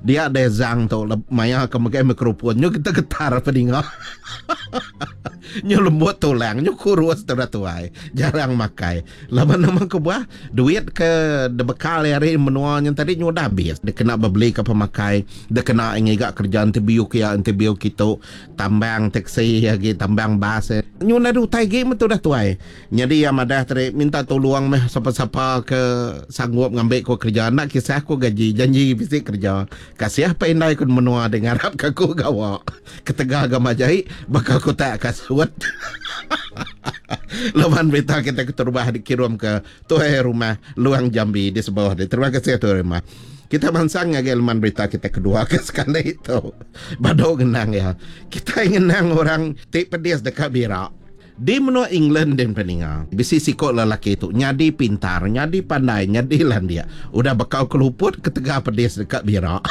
Dia deh Zhang tu maya ke megai microphone nyu getar-getar peninga. Nyu lembut tulang nyu kurus tudah tuai jarang makai. Laban nama kebuah duit ke dibekal iya ari menua nya tadi nyu udah abis dikena bebeli ke pemakai dikena ngiga kereja interview ke iya interview kitu tambang taxi agi tambang bas. Nyu nadai utai agi meh tudah tuai. Nyadi iya madah tadi minta tulung meh sapa-sapa ke sanggup ngambi ku kereja enda kisah ku gaji janji bisi kereja. Kasih pa indai ku menua deh ngarap ka aku gawa ketegal ga majai baka kutak kasut. Laban berita kita keterubah dikirum ke tuai rumah Luang Jambi di Sebauh deh. Terima kasih tuai rumah. Kita mansang ngagai leman berita kita kedua ke sekali tu. Badu ngenang iya. Kitai ngenang orang ti pedis deka bira. Di menua England din peninga, bisi siko lelaki tu nyadi pintar, nyadi pandai, nyadi landik. Udah bekau keluput ketegal pedis deka bira.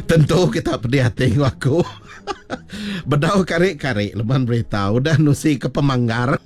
Tentu kita pedih ati enggau aku. Bedau kari-kari leman berita udah nusi ke pemanggar.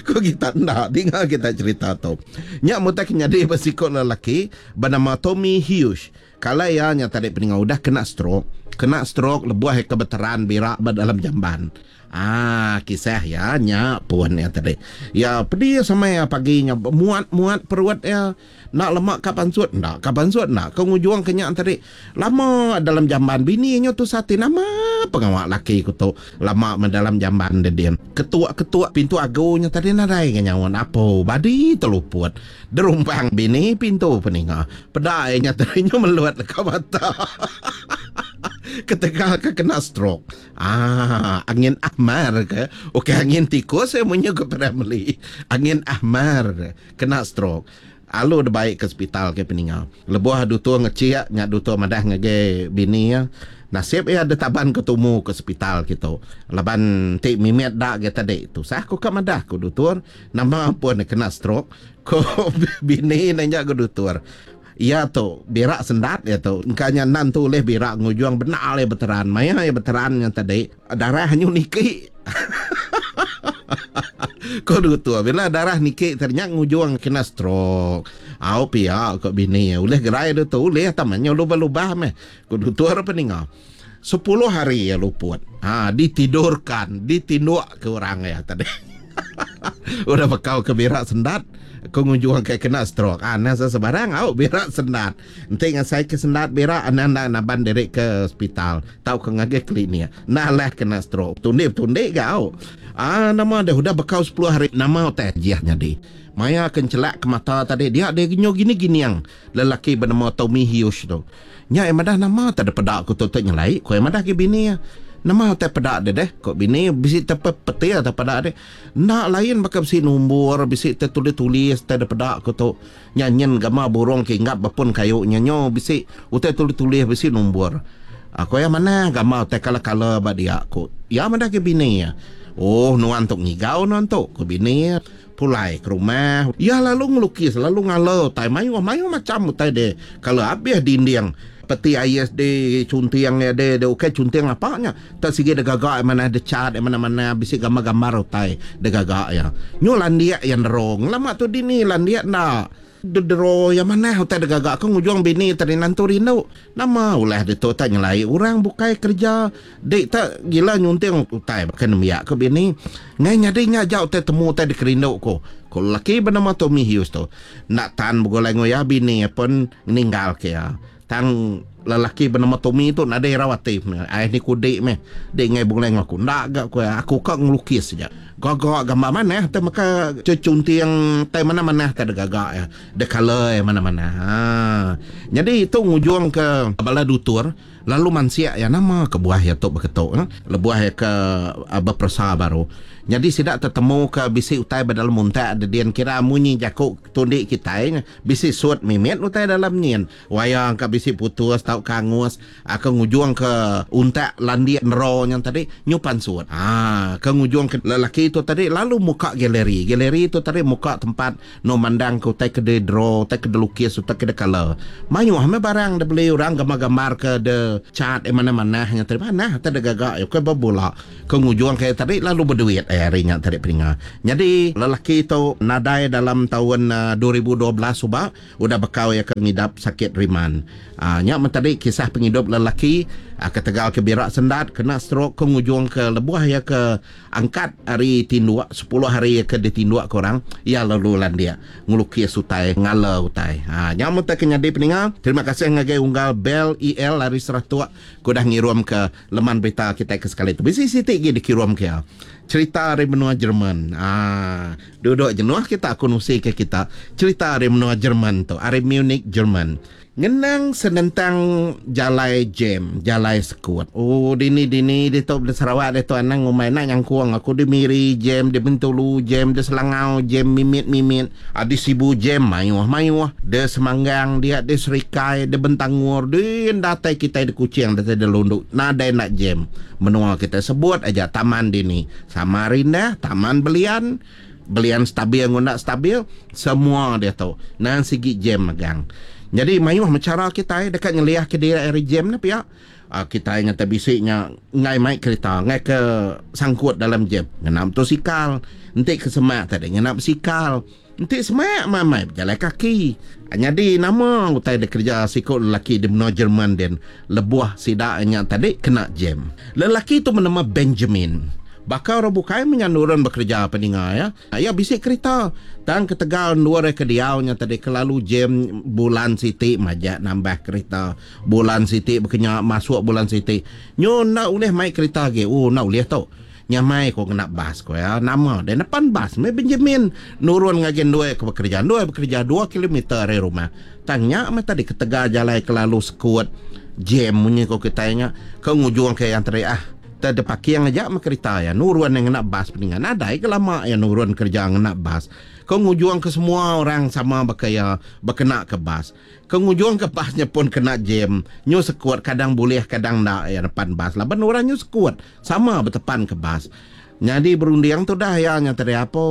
Ku kita enda dinga kita cerita tu. Nya mutai ke nyadi ba siko lelaki benama Tommy Hughes. Kala iya nya tadi peninga udah kena stroke. Kena stroke lebuh iya ke beteran bira ba dalam jamban. Aaa kisah iya nya pun iya tadi. Iya pedis amai iya pagi nya muat muat perut iya. Enda lema ka pansut enda ka pansut enda ka ngujung ke nya tadi. Lama dalam jamban bini nya tusah ati nama pengawa laki ku tu lama meh dalam jamban dedin. Ketuk ketuk pintu agu nya tadi nadai ga nyaut apo badi teluput. Derumpang bini pintu peninga. Peda iya nya tadi nyu melut leka mata. Ketegal ke kena stroke. Aaa angin ahmar ke. Ukai angin tikus iya munyi ku P. Ramlee. Angin ahmar kena stroke. Alu dibai ke sepital ke peninga. Lebuh dutur ngechik nya dutur madah ngagai bini iya. Nasib iya ditaban ke tumu ke sepital kitu. Laban enti mimit da agi tadi tusah ku ka madah ku dutur. Nama pun ne kena stroke ko bini ne nya ga dutur. Iya tu birak sendat iya tu. Engka nya enda entu ulih birak ngujung bendar iya beteran. Maya iya beteran nya tadi darah nyu niki. Ko dutur bila darah niki tadi nya ngujung kena stroke. Au pia ko bini iya ulih gerai dutur ulih tama nyu lubah-lubah meh ko dutur peninga. Sepuluh hari iya luput. Ha ditidurkan, ditinduk ke orang iya tadi. Udah bekau ke birak sendat, ke ngujung ke kena stroke. Ha anang sebarang au birak sendat. Enti ngasai ke sendat birak anang enda naban diri ke hospital tauka ngagai klinik. Enda alah kena stroke. Betundi-betundi ga au. Ha nama deh udah bekau sepuluh hari nama utai ajih nyadi. Maya ke enchelak ke mata tadi dia deh nyu gini-gining lelaki benema Tommy Hughes tu. Nya iya madah nama tak ada peda ku tu tu nyelai ku iya madah agi bini iya. Nama utai peda deh deh ku bini bisi te petir te peda deh. Enda lain baka bisi nombor bisi te tulis-tulis te da peda ku tu. Nya nyin gama burung ke inggap ba pun kayu nya nyo bisi utai tulis-tulis bisi nombor. Ku iya manah gama utai kala-kala ba dia ku iya madah agi bini iya. Oh nuan tu ngigau nuan tu ku bini iya. Pulai ke rumah, iya lalu ngelukis lalu ngala utai mayuh mayuh macham utai deh. Kala abih dinding peti ais deh chunting iya deh deh ukai chunting apa nya tak sigi deh gaga iya manah deh cat iya manah manah bisi gambar gambar utai deh gaga iya. Nyu landik iya nero ngelama tu dini landik enda. Dedero iya manah utai digaga aku ngujung bini tadi nantu rindu. Nama ulah ditu tak nyelai orang bukai kereja dik tak gila nyunting utai baka nembiak ku bini. Ngai nyadi nya aja utai temu utai dikerindu ku. Ku lelaki benama Tommy Hughes tu. Enda tan begulai enggau iya bini iya pun ninggal ke iya. Tang lelaki benama Tommy tu nadai irau ati meh. Ai ni ku dik meh. Dik enggai begulai enggau aku. Enda ga ku iya. Aku ka ngelukis aja. Gaga gambar manah tai meka chechunting tai manah-manah tai digaga iya. The colour iya manah-manah. Haa. Nyadi tu ngujungka bala dutur lalu mansik iya nama kebuah iya tu beketu. Lebuh iya ke beperesa baru. Nyadi sida tetemuka bisi utai ba dalam untak dedin kira munyi jaku tundi kitai. Bisi sut mimit utai dalam nyin. Waya engka bisi putus tauka angus ke ngujung ke untak landik nero nya tadi nyu pansut. Haa ke ngujung ke lelaki tu tadi lalu muka galeri. Galeri tu tadi muka tempat enu mandang ke utai ke di draw, utai ke dilukis, utai ke dikala. Mayuh meh barang dibeli orang gambar-gambar ke de cat manah-manah nya tadi. Manah utai digaga iya ukai bebula. Ke ngujung ke tadi lalu beduit. Ari nya tadi peninga. Nyadi lelaki tu nadai dalam taun 2012 suba udah bekau iya ke ngidap sakit riman. Nya meh tadi kisah pengidup lelaki ketegal ke bira sendat kena stroke ke ngujung ke lebuh iya ke angkat ari tinduk sepuluh hari iya ke ditinduk ke orang iya lalu landik ngelukis utai ngala utai. Nya meh utai ke nyadi peninga. Terima kasih ngagai unggal Bell EL ari Seratok ke udah ngirum ke Leman berita kitai ke sekali tu bisi siti agi dikirum ke iya. Cerita ari menua Jerman. Aaa duduk jenuh kita aku nusi ke kita cerita ari menua Jerman tu, ari Munich Jerman. Ngenang senentang jalai jam, jalai sekut. Oh dini dini ditu di Sarawak ditu anang ngumbai enda nyangkung aku di Miri jam, di Bintulu jam, di Selangau jam mimit mimit, di Sibu jam mayuh mayuh, di Semanggang dia, di Serikai, di Bentangor, di datai kitai di Kuching datai di Lundu nadai enda jam. Menua kitai sebut aja taman dini Samarinda, Taman Belian, Belian stabil enggau enda stabil semua diatu nang sigi jam megang. Nyadi mayuh meh chara kitai deka nyeliahka diri ari jam ne pia. Kitai nyata bisi nya enggai mai kerita enggai ke sangkut dalam jam ngena motosikal. Enti ke semak tadi ngena besikal. Enti semak meh amai bejalai kaki. Nyadi nama utai dikereja siku lelaki di menua Jerman din lebuh sida nya tadi kena jam. Lelaki tu benama Benjamin. Baka orang bukai meh nya nurun bekereja peninga iya. Iya bisi kerita tang ketegal endur iya ke diau nya tadi kelalu jam bulan siti majak nambah kerita. Bulan siti bekenya masuk bulan siti nyu enda ulih mai kerita agi. Ooh enda ulih tu. Nyamai ko ngena bas ko iya. Nama deh nepan bas meh Benjamin nurun ngagai endur iya ke bekereja. Endur iya bekereja dua kilometer ari rumah. Tang nya meh tadi ketegal jalai kelalu sekut, jam munyi ko kitai nya ke ngujung ke iya tadi ah. Te depaking aja meh kerita iya nurun iya ngena bas peninga. Nadai ga lama iya nurun kereja ngena bas. Ke ngujung ke semua orang sama baka iya bekena ke bas. Ke ngujung ke bas nya pun kena jam. Nyu sekut kadang bulih kadang enda iya nepan bas laban orang nyu sekut. Sama betepan ke bas. Nyadi berunding tudah iya nya tadi apo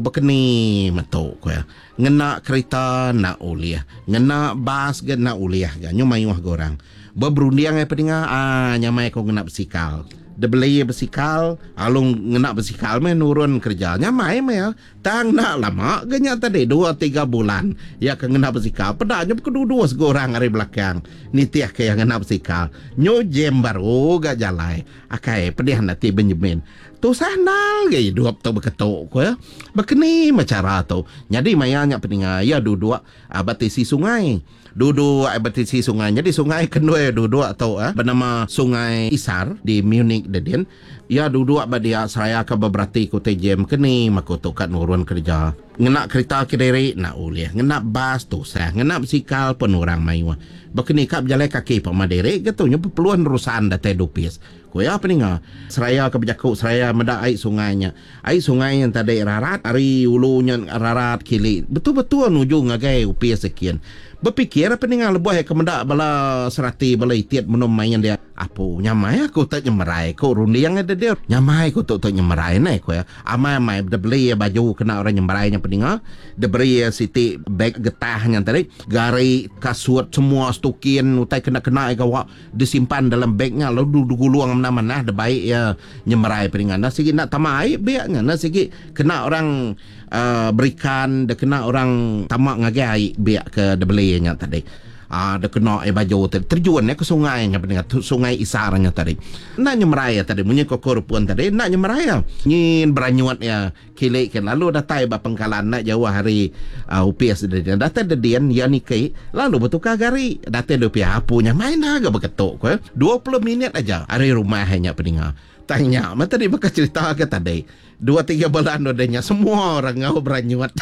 bekeni metu ku iya. Ngena kerita enda ulih, ngena bas ga enda ulih ga nyu mayuh ga orang. Beberunding ai pedinga aaa nyamai ku ngena besikal. Dibeli besikal alu ngena besikal meh nurun kereja nyamai meh iya. Tang enda lama ga nya tadi dua tiga bulan iya ke ngena besikal peda nya bekedudus ga orang ari belakang nitih ke iya ngena besikal. Nyu jam baru ga jalai. Akai pedih enda ti Benjamin. Tusah endal ga idup tu beketu ku iya. Bekeni meh chara tu. Nyadi maya nya peninga iya duduk ba tisi sungai. Duduk ai ba tisi sungai. Nyadi sungai ke endui duduk tu benama Sungai Isar di Munich dedin. Iya duduk ba dia seraya ke beberati ke utai jam ke ni maku tu ka nurun kereja. Ngena kerita kediri enda ulih, ngena bas tusah, ngena besikal pun orang mayuh. Baka ni ka bejalai kaki pama diri ga tu nyau bepeluh nerusan datai dupis. Ku iya peninga seraya ke bejaku seraya meda ai sungai nya. Ai sungai nya tadi rarat ari ulu nya rarat kili betul-betul nuju ngagai opis ekin. Bepikir peninga lebuh iya ke meda bala serati bala itit menum main dia. Apu nyamai aku tu nyemerai ku runding iya deh. Nyamai ku tu tu nyemerai neh ku iya. Amai-amai debeli iya baju kena orang nyemerai nya peninga. Diberi iya siti beg getah nya tadi gari kasut semua stukin utai kena-kena iya gawa. Disimpan dalam beg nya lalu digulung manah-manah dibai iya nyemerai peninga. Enda sigi enda tama ai beg nya. Enda sigi kena orang uhh berikan dek kena orang tama ngagai ai beg ke dibeli iya nya tadi. Uhh dek kena iya baju tadi terjun iya ke sungai nya peninga sungai Isar nya tadi. Enda nyemerai iya tadi munyi ko ku Repun tadi enda nyemerai iya. Nyin beranyut iya. Kili ke lalu datai ba pengkalan enda jauh ari opis dedin. Datai dedin iya niki lalu betukar gari. Datai di opis apu nya main dah ga beketu ku iya. 20 minit aja ari rumah iya nya peninga. Tang nya meh tadi baka cerita ke tadi. Dua tiga bulan udah nya semua orang enggau beranyut.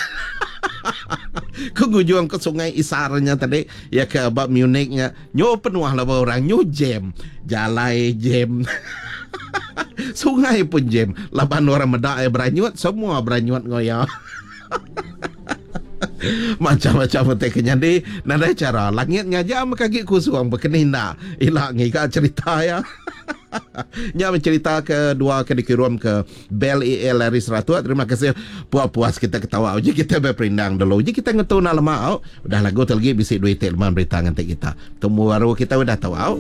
Ke ngujung ke sungai Isar nya tadi iya ke ba Munich nya nyu penuh laban orang nyu jam. Jalai jam. Sungai pun jam laban orang meda iya beranyut semua beranyut enggau iya. Macam-macam utai ke nyadi nadai chara langit ngaja meh agi kusung bekeni enda ila ngiga cherita iya. Nya meh cherita ke dua ke dikirum ke Bell EL ari Seratuk. Terima kasih puas-puas kita ketawa uji kita beperindang dulu. Uji kita ngetu enda lama au. Udah lagu tu lagi bisi dua iti leman berita nganti kita. Temu baru kita udah tau au.